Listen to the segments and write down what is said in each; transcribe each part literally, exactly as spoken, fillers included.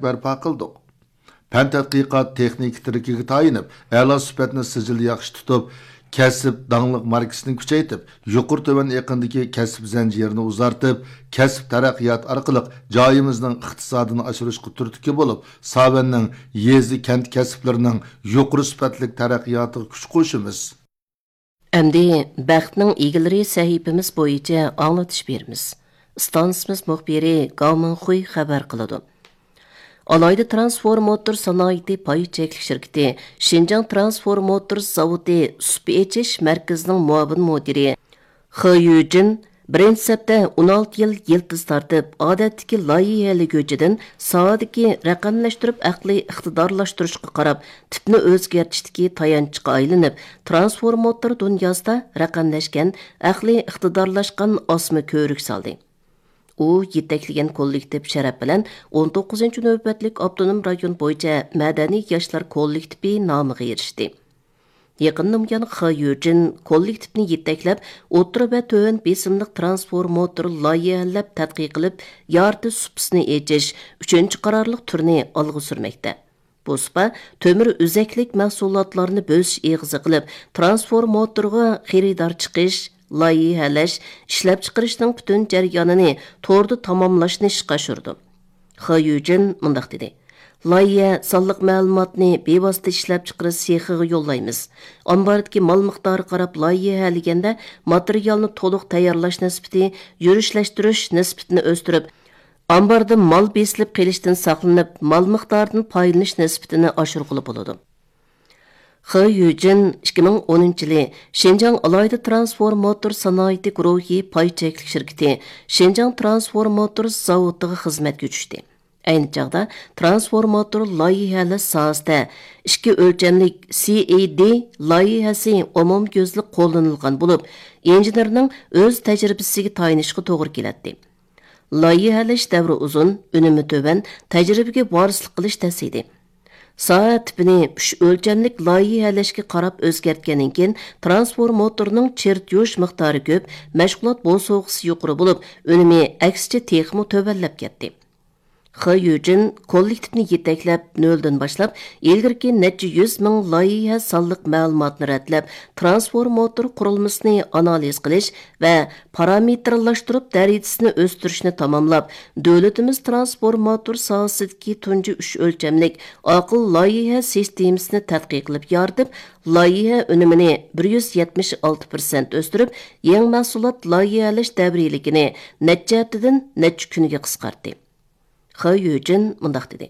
بەرپا قىلدۇق. پەن تەتقىقات تېخنىكا تىرىكىگە تايىنىپ، ئەلا سۈپەتنى سىجىل ياخشى تۇتۇپ، كەسىپ داڭلىق ماركىسىنى كۈچەيتىپ، يۇقىرى تۆۋەن ئېقىندىكى كەسىپ زەنجىرىنى ئۇزارتىپ، كەسىپ تەرەققىياتى ئارقىلىق جايىمىزنىڭ ئىقتىسادىنى ئاشۇرۇشقا تۈرتكە بولۇپ، ساۋەننىڭ يېزا، كەنت كەسىپلىرىنىڭ يۇقىرى سۈپەتلىك تەرەققىياتىغا كۈچ قوشىمىز. ئەمدى بەختنىڭ ئىگىلىرى سەھىپىمىز بويىچە ئاڭلىتىش بېرىمىز. ئىستانسىمىز مۇخبىرى گاۋ مىڭخۇي خەۋەر قىلىدۇ. ئالايدۇ ترانسفورماتور سانائىتى پاي چەكلىك شىركىتى شىنجاڭ ترانسفورماتور زاۋۇتى سۇپا ئېچىش مەركىزىنىڭ مۇئاۋىن مۇدىرى خې يۈجىن بىرىنچى سەپتە ئون ئالتە يىل يىلتىز تارتىپ، ئادەتتىكى لايىھەلىگۈچىدىن ساھەدىكى رەقەملەشتۈرۈپ ئەقلىي ئىقتىدارلاشتۇرۇشقا قاراپ، تىپنى ئۆزگەرتىشتىكى تايانچقا ئايلىنىپ، ترانسفورماتور دۇنياسىدا رەقەملەشكەن، ئەقلىي ئىقتىدارلاشقان ئاسما كۆۋرۈك سالدى. ئۇ يېتەكلىگەن كوللېكتىپ شەرەپ بىلەن ئون توققۇزىنچى نۆۋەتلىك ئاپتونوم رايون بويىچە مەدەنىي ياشلار كوللېكتىپى نامىغا ئېرىشتى. يېقىندىن بۇيان خې يۈجىن كوللېكتىپنى يېتەكلەپ، ئوتتۇرا ۋە تۆۋەن بېسىملىق ترانسفورماتور لايىھەلەپ تەتقىق قىلىپ، يارتى سۇپىسىنى ئېچىش ئۈچىنچى قارارلىق تۈرىنى ئالغا سۈرمەكتە. بۇ سۇپا تۆمۈر ئۈزەكلىك مەھسۇلاتلارنى بۆسۈش ئېغىزى قىلىپ، ترانسفورماتورغا خېرىدار چىقىش، لايىھەلەش، ئىشلەپچىقىرىشنىڭ پۈتۈن جەريانىنى توردا تاماملاشنى ئىشقا ئاشۇرىدۇ. خې يۈجىن مۇنداق دېدى: لايىھە سانلىق مەلۇماتنى بىۋاسىتە ئىشلەپچىقىرىش سېخىغا يوللايمىز. ئامباردىكى مال مىقدارىغا قاراپ لايىھەلىگەندە، ماتېرىيالنى تولۇق تەييارلاش نىسبىتى، يۈرۈشلەشتۈرۈش نىسبىتىنى ئۆستۈرۈپ، ئامباردا مال بېسىلىپ قېلىشتىن ساقلىنىپ، مال مىقدارىدىن پايدىلىنىش نىسبىتىنى ئاشۇرغىلى بولىدۇ. خې يۈجىن ئىككى مىڭ ئونىنچى يىلى شىنجاڭ ئالاھىدە ترانسفورماتور سانائىتى گۇرۇھى پاي چەكلىك شىركىتى شىنجاڭ ترانسفورماتور زاۋۇتىغا خىزمەتكە چۈشتى. ئەينى چاغدا ترانسفورماتور لايىھەلەش ساھەسىدە ئىككى ئۆلچەملىك سى ئى دى لايىھەسى ئومۇميۈزلۈك قوللىنىلغان بولۇپ، ئىنژېنېرنىڭ ئۆز تەجرىبىسىگە تايىنىشقا توغرا كېلەتتى. لايىھەلەش دەۋرى ئۇزۇن، ئۈنۈمى تۆۋەن، تەجرىبىگە ۋارىسلىق قىلىش تەس ئىدى. ساھە تىپىنى ئۈچ ئۆلچەملىك لايىھەلەشكە قاراپ ئۆزگەرتكەندىن كېيىن، ترانسفورماتورنىڭ چېرتيوژ مىقدارى كۆپ، مەشغۇلات بوسۇغىسى يۇقىرى بولۇپ، ئۈنۈمى ئەكسىچە تېخىمۇ تۆۋەنلەپ كەتتى. خې يۈجىن كوللېكتىپنى يېتەكلەپ، نۆلدىن باشلاپ، ئىلگىرىكى نەچچە يۈز مىڭ لايىھە سانلىق مەلۇماتنى رەتلەپ، ترانسفورماتور قۇرۇلمىسىنى ئانالىز قىلىش ۋە پارامېتىرلاشتۇرۇپ دەرىجىسىنى ئۆستۈرۈشنى تاماملاپ، دۆلىتىمىز ترانسفورماتور ساھەسىدىكى تۇنجى ئۈچ ئۆلچەملىك ئاقىل لايىھە سىستېمىسىنى تەتقىقلىپ يارىتىپ، لايىھە ئۈنۈمىنى بىر يۈز يەتمىش ئالتە پىرسەنت ئۆستۈرۈپ، يېڭى مەھسۇلات لايىھەلەش دەۋرىيلىكىنى نەچچە ھەپتىدىن نەچچە كۈنگە قىسقارتتى. خې يۈجىن مۇنداق دېدى: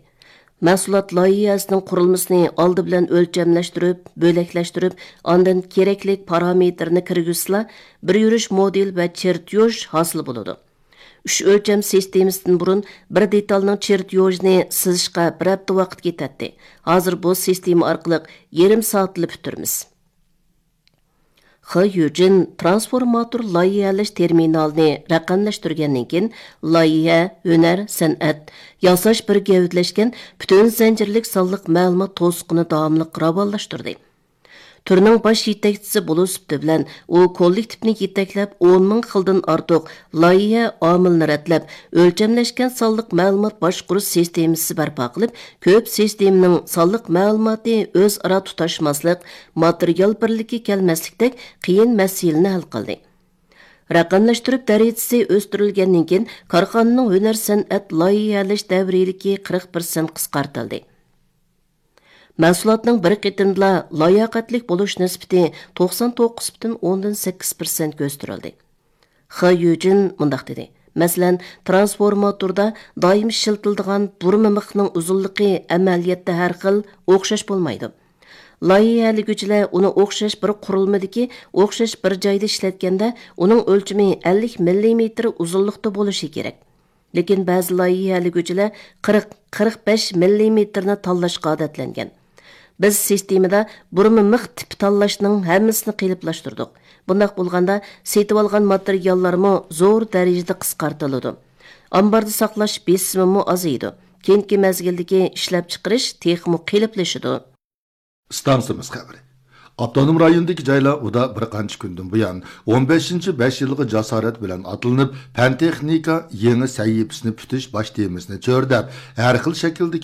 مەھسۇلات لايىھەسىنىڭ قۇرۇلمىسىنى ئالدى بىلەن ئۆلچەملەشتۈرۈپ، بۆلەكلەشتۈرۈپ، ئاندىن كېرەكلىك پارامېتىرنى كىرگۈزسىلا، بىر يۈرۈش مودېل ۋە چېرتيوژ ھاسىل بولىدۇ. ئۈچ ئۆلچەم سىستېمىسىدىن بۇرۇن بىر دېتالنىڭ چېرتيوژىنى سىزىشقا بىر ھەپتە ۋاقىت كېتەتتى. ھازىر بۇ سىستېما ئارقىلىق يېرىم سائەتتىلا پۈتتۈرىمىز. خې يۈجىن ترانسفورماتور لايىھەلەش تېرمىنالىنى رەقەملەشتۈرگەندىن كېيىن، لايىھە، ھۈنەر، سەنئەت، ياساش بىر گەۋدىلەشكەن پۈتۈن زەنجىرلىك سانلىق مەلۇمات توسۇقىنى داۋاملىق راۋانلاشتۇردى. تۈرنىڭ باش يېتەكچىسى بولۇش سۈپىتى بىلەن، ئۇ كوللېكتىپنى يېتەكلەپ، ئون مىڭ خىلدىن ئارتۇق لايىھە ئامىلىنى رەتلەپ، ئۆلچەملەشكەن سانلىق مەلۇمات باشقۇرۇش سىستېمىسى بەرپا قىلىپ، كۆپ سىستېمىنىڭ سانلىق مەلۇماتى ئۆزئارا تۇتاشماسلىق، ماتېرىيال بىرلىككە كەلمەسلىكتەك قىيىن مەسىلىنى ھەل قىلدى. رەقەملەشتۈرۈپ دەرىجىسى ئۆستۈرۈلگەندىن كېيىن، كارخانىنىڭ ھۈنەر سەنئەت لايىھەلەش دەۋرىيلىكى قىرىق پىرسەنت قىسقارتىلدى. مەھسۇلاتنىڭ بىر قېتىمدىلا لاياقەتلىك بولۇش نىسبىتى توقسان توققۇز پۈتۈن ئوندىن سەككىز پىرسەنتكە ئۆستۈرۈلدى. خې يۈجىن مۇنداق دېدى: مەسىلەن، ترانسفورماتوردا دائىم ئىشلىتىلىدىغان بۇرما مىخنىڭ ئۇزۇنلۇقى ئەمەلىيەتتە ھەر خىل، ئوخشاش بولمايدۇ. لايىھەلىگۈچىلەر ئۇنى ئوخشاش بىر قۇرۇلمىدىكى ئوخشاش بىر جايدا ئىشلەتكەندە، ئۇنىڭ ئۆلچىمى ئەللىك مىللىمېتىر ئۇزۇنلۇقتا بولۇشى كېرەك. لېكىن بەزى لايىھەلىگۈچىلەر قىرىق، قىرىق بەش مىللىمېتىرنى تاللاشقا ئادەتلەنگەن. بىز سىستېمىدا بۇرما مىخ تىپى تاللاشنىڭ ھەممىسىنى قېلىپلاشتۇردۇق. بۇنداق بولغاندا، سېتىۋالغان ماتېرىياللارمۇ زور دەرىجىدە قىسقارتىلىدۇ. ئامباردا ساقلاش بېسىمىمۇ ئازىيىدۇ. كېيىنكى مەزگىلدىكى ئىشلەپچىقىرىش تېخىمۇ قېلىپلىشىدۇ. ئىستانسىمىز خەۋىرى. ئاپتونوم رايوندىكى جايلار ئۇدا بىر قانچە كۈندىن بۇيان، ئون بەشىنچى بەش يىلغا جاسارەت بىلەن ئاتلىنىپ، پەن تېخنىكا يېڭى سەھىپىسىنى پۈتۈش باش تېمىسىنى چۆرىدەپ، ھەر خىل شەكىلدىكى